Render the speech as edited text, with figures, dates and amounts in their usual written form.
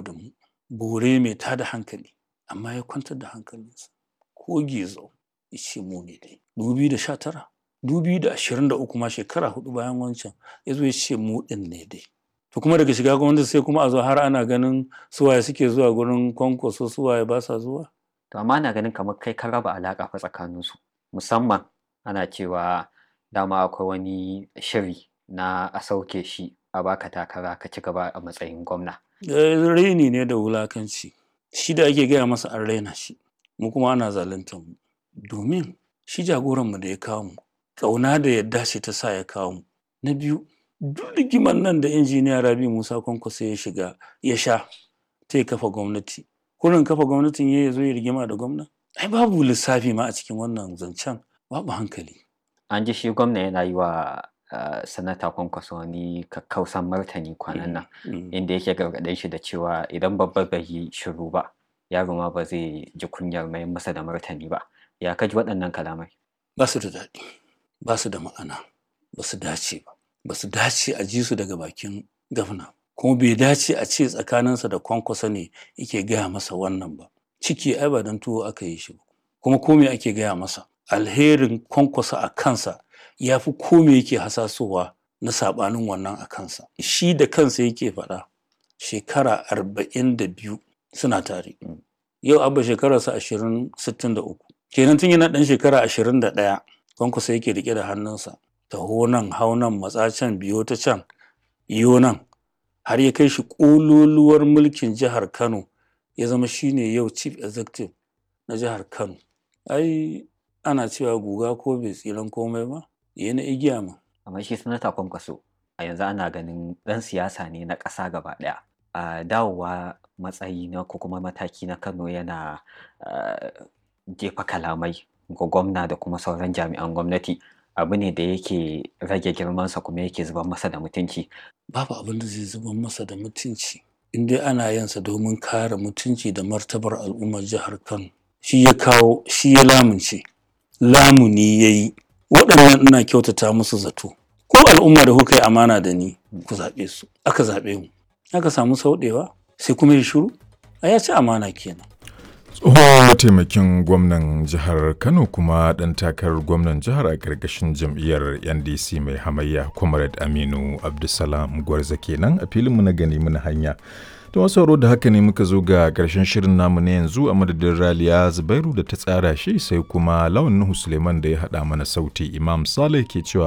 Da mu bore mai tada hankali, amma ya kwantar da hankalinsa ko gizo ya ce mu ne dai. 2019, 2023 ma, shekara 4 bayan wancan, ya zo ya ce mu ɗin ne dai. To kuma daga shiga gwamnati sai kuma a zo har ana ganin suwaye suke zuwa gurin Kwankwaso, suwaye ba sa zuwa. To amma ana ganin kamar kai ka raba alaƙa fa tsakaninsu, musamman ana cewa dama akwai wani shiri na a sauke shi a baka takara ka ci gaba a matsayin gwamna. Raini ne da wulakanci. Shi da ake gaya masa an raina shi, mu kuma ana zaluntar mu. Domin shi jagoranmu da ya kawo mu, ƙauna da yadda ce ta sa ya kawo mu. Na biyu, duk rigimar nan da Injiniya Rabi'u Musa Kwankwaso ya shiga ya sha ta ya kafa gwamnati. Kurin kafa gwamnatin ya zo ya rigima da gwamna? Ai babu lissafi ma a cikin wannan zancen, babu hankali. An ji shi gwamna yana yi wa Sanata Kwankwaso wani kakkausan martani kwanan nan, inda yake gargaɗin shi da cewa idan babba bai yi shiru ba, yaro ma ba zai ji kunyar mayar masa da martani ba. Ya ka ji waɗannan kalamai? Ba su da daɗi, ba su da ma'ana, ba su dace ba. Ba su dace a ji su daga bakin gwamna. Kuma bai dace a ce tsakaninsa da Kwankwaso ne yake gaya masa wannan ba. Ciki ai ba don tuwo aka yi shi ba. Kuma ko me ake gaya masa? Alherin Kwankwaso a kansa ya fi ko me yake hasasowa na saɓanin wannan a kansa. Shi da kansa yake faɗa, shekara 42 suna tare. Yau Abba shekararsa 63. Kenan tun yana ɗan shekara 21 Kwankwaso yake riƙe da hannunsa. Taho nan, hau nan, matsa can, biyo ta can, iyo nan. Har ya kai shi ƙololuwar mulkin jihar Kano, ya zama shine yau chief executive na jihar Kano. Ai ana cewa guga ko bai tsiran komai ba, ya na igiya ma. Amma shi Sanata Kwankwaso a yanzu ana ganin ɗan siyasa ne na ƙasa gaba ɗaya. A dawowa matsayi na ko kuma mataki na Kano yana jefa kalamai ga gwamna da kuma sauran jami'an gwamnati, abu ne da yake rage girmansa kuma yake zubar masa da mutunci. Babu abin da zai zubar masa da mutunci in dai ana yin sa domin kare mutunci da martabar al'ummar jihar Kano. Shi ya kawo, shi ya lamunce, lamuni ya yi. Waɗannan ina kyautata musu zato. Ko al'umma da kuka yi amana da ni, ku zaɓe su. Aka zaɓe mu. Aka samu sauɗewa, sai kuma ya shiru. Ai ya ci amana kenan. Tsohon mataimakin gwamnan jihar Kano kuma ɗan takarar gwamnan jihar a ƙarƙashin jam'iyyar NDC mai hamayya, Comrade Aminu Abdulsalam Gwarza kenan a filinmu na gani muna hanya. To masu sauraro, da haka ne muka zo ga ƙarshen shirin namu na yanzu, a madadin Raliya Zubairu da ta tsara shi, sai kuma Lawan Nuhu Suleiman da ya haɗa mana sauti. Imam Saleh ke cewa